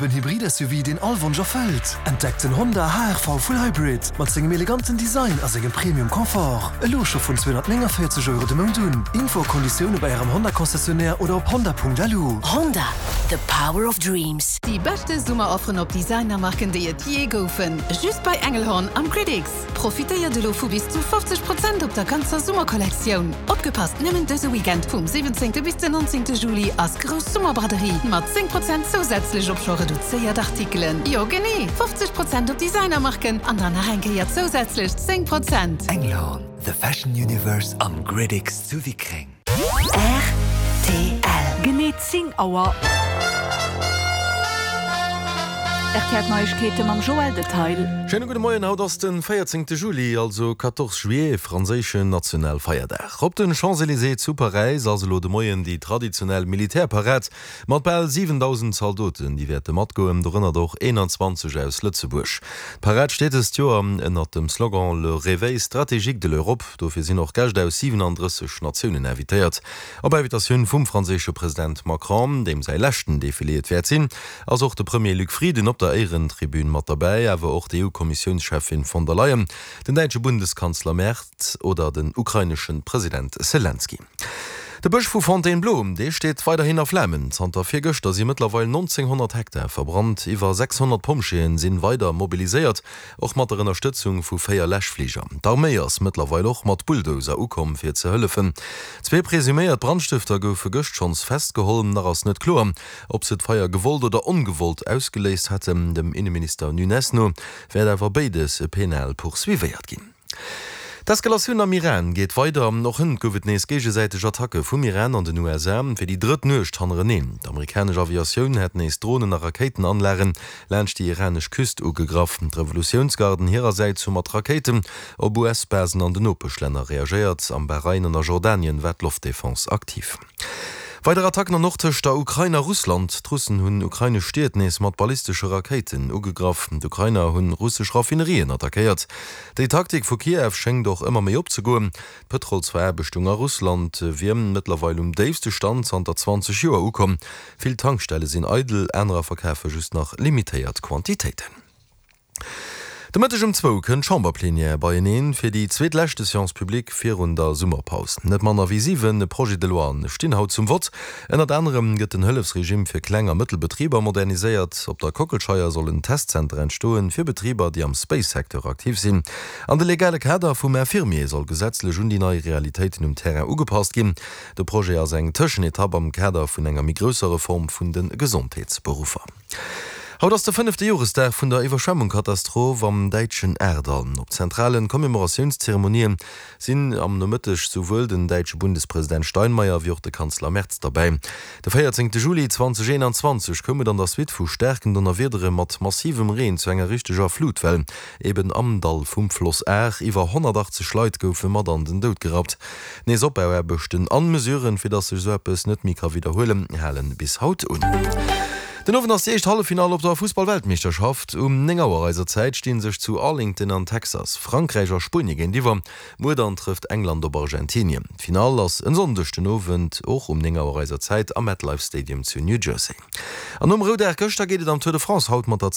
op en Hybrid-SUV, deen all Wonsch erfëllt? Entdeckt den Honda HR-V Full Hybrid mat sengem eleganten Design a sengem Premium Confort. Elo scho vun 249 Euro de Mount un. Info a Konditioune bei Ärem Honda-Concessionnaire oder op honda.lu. Honda, the power of dreams. Déi beschte Summerofferen op Designermarken déi et jee goufen, just bei Engelhorn am Gridix! Profitéiert elo vu bis zu 50 Prozent op der ganzer Summerkollektioun! Opgepasst, nëmmen dëse Weekend vum 17 bis den 19 Juli ass grouss Summerbraderie mat 10 Prozent zousätzlech op scho reduzéiert Artikelen. Jo genee, 50 Prozent op Designermarken an dann nach eng Kéier zousätzlech 10 Prozent! Engelhorn, the fashion universe am Gridix zu Wickreng. Rtl. Genee 10 Auer. Rtl Neiegkeete mam Joël Detail. Schéine gudde Moien, haut ass den 14 Juli, also 14 juillet, franséischen Nationalfeierdag. Op den Champs-Elysées zu Paräis ass elo de Moien déi traditionell Militärparad Mat bal 7.000 Zaldoten, déi wäerte matgoen, dorënner och 21 aus Lëtzebuerg. D'Parad steet dëst Joer ënnert dem Slogan Le réveil stratégique de l'Europe. Dofir sinn och Gäscht aus 37 Natiounen invitéiert. Op Invitatioun vum franséische President Macron, deem säi leschten Defilé et wäert sinn, ass och de Premier Luc Frieden op der Éierentribün mat derbäi, awer och d'EU-Kommissiounscheffin von der Leyen, den däitsche Bundeskanzler Merz oder den ukrainesche President Selenskyj. De Bësch vu Fontainebleau, dee steet weiderhin a Flamen. Zanter virgëschter si mëttlerweil 1.900 Hektar verbrannt. Iwwer 600 Pompjeeën sinn weider mobiliséiert, och mat der Ënnerstëtzung vu 4 Läschfliger. D'Arméi ass mëttlerweil och mat Bulldozer ukomm fir ze hëllefen. Zwee presuméiert Brandstëfter goufe gëscht schonns festgeholl. Nach ass net kloer, ob se d'Feier gewollt oder ongewollt ausgeléist hätten. Dem Inneminister Nunes no wäert awer béides penal poursuivéiert ginn. D'Eskalatioun am Iran geet weider. Och hënt gouf et nees géigesäiteg Attacke vum Iran an den USA, fir déi drëtt Nuecht hannereneen. D'amerikanesch Aviatioun hätt nees Dronen a Rakéitenanlagen laanscht déi iranesch Küst ugegraff. D'Revolutiounsgarden hirersäits hu mat Rakéiten op US-Basen an den Nopeschlänner reagéiert. Am Bahrain an a Jordanien war d'Loftdefense aktiv. Weider Attacken an och tëscht der Ukrain a Russland. D'Russen hunn ukrainesch Stied nees mat ballistesche Rakéiten ugegraff. D'Ukrainer hunn russesch Raffinerien attackéiert. Déi Taktik vu Kiew schéngt och ëmmer méi opzegoen. D'Pëtrolsveraarbechtung a Russland wier mëttlerweil um déifste Stand zanter 20 Joer ukomm. Vill Tankstelle sinn eidel, anerer verkafe just nach limitéiert Quantitéiten. De Mëtteg um zwou kënnt d'Chamberplenière beieneen fir déi zweetleschte Séance publique virun der Summerpaus. Net manner wéi 7 Projets de loien stinn haut zum Vott. Ënnert anerem gëtt den Hëllefsregime fir Kleng a mëttel Betriber moderniséiert. Op der Kockelscheier soll en Testzenter entstoen fir Betriber, déi am Space-Secteur aktiv sinn. An de legale Kader vum Infirmier soll gesetzlech un déi nei Realitéiten um Terrain ugepasst ginn. De Projet ass eng Tëschenetapp am Kader vun enger méi grousser Reform vun de Gesondheetsberuffer. Haut ass de fënnefte Joresdag vun der Iwwerschwemmungkatastroph am däitschen Ahrtal. Op zentrale Commemoratiounszeremonien sinn am Nomëtteg souwuel den däitsche Bundespresident Steinmeier wéi och de Kanzler Merz derbäi. De 14 Juli 2021 koum et an der Suite vu staarken Donnerwiedere mat massivem Reen zu enger richteger Flutwell, eben am Dall vum Floss Ahr. Iwwer 180 Leit goufe mat an den Doud gerappt. Nees-Opbauaarbechten an Mesuren, fir dass sech esou eppes net méi ka widderhuelen, halen bis haut un. Den Owend ass déi éischt Halleffinall op der Fussball-Weltmeeschterschaft. Um 9 Auer eiser Zäit sti sech zu Arlington an Texas Frankräich a Spuenie géintiwwer. Muer dann trëfft England op Argentinien. D'Finall ass en Sonndeg den Owend och um 9 Auer eiser Zäit am MetLife Stadium zu New Jersey. An nom Roudag gëschter geet et am Tour de France haut mat der.